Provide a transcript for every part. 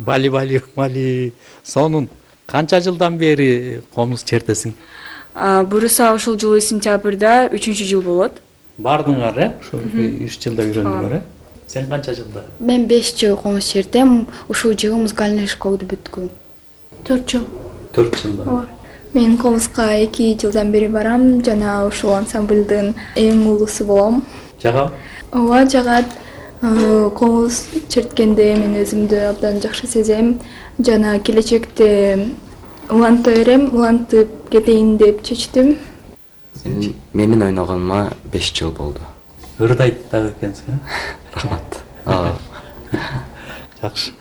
Бали. Сонун канча жылдан бери комуз чертесиң? Буюрса ушул жылы сентябрда 3-жыл болот. Бардыңар, ошо 3 жылда үйрөндүңөр, Сен канча жылда? Мен 5 жыл комуз чертем. Ушул жылы музыкальный школду бүткүм. 4 жыл. 4 жылда. Мен комузга 2 жылдан бери барам жана ушул ансамблдын эң улуусу болом. Жагабы? Ооба, жагат. Комуз черткенде мен өзүмдү абдан жакшы сезем жана келечекте уланта берем, улантып кетейин деп чечтим. Менин ойногоныма 5 жыл болду. Ырдайт дагы экенсиң, Рахмат. Жакшы.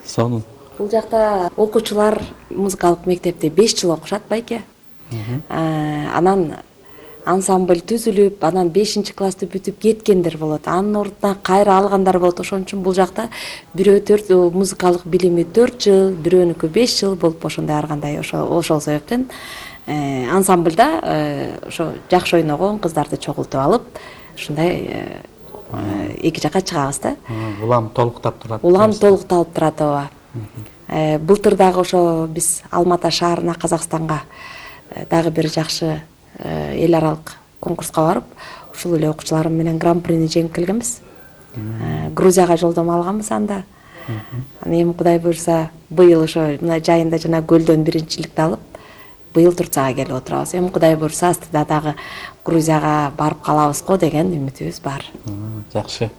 Сонун. Бул жакта окуучулар музыкалык мектепте 5 жыл окушат байке. Анан ансамбль түзүлүп, анан 5-классты бүтүп кеткендер болот. Анын ордуна кайра алгандар болот. Ошон үчүн бул жакта бирөө 4 музыкалык билими 4 жыл, бирөөнүкү 5 жыл болуп ошондой ар кандай ошол себептен ансамблда ошо жакшы ойногон кыздарды чогултуп алып, ушундай эки жака чыгабыз да. Улам толуктап турат. Улам толукталып турат, ооба. Былтыр дагы ошо биз Алматы шаарына, Казакстанга дагы бир жакшы эл аралык конкурска барып, ушул эле окуучуларым менен гран-прини жеңип келгенбиз. Грузияга жолдомо алганбыз анда. Анан эми Кудай буйрса, быйыл ошо мына жайында жана көлдөн биринчиликти алып, быйыл Турцияга келип отурабыз. Эми Кудай буйрса, астыда дагы Грузияга барып калабыз го деген үмүтүбүз бар. Жакшы.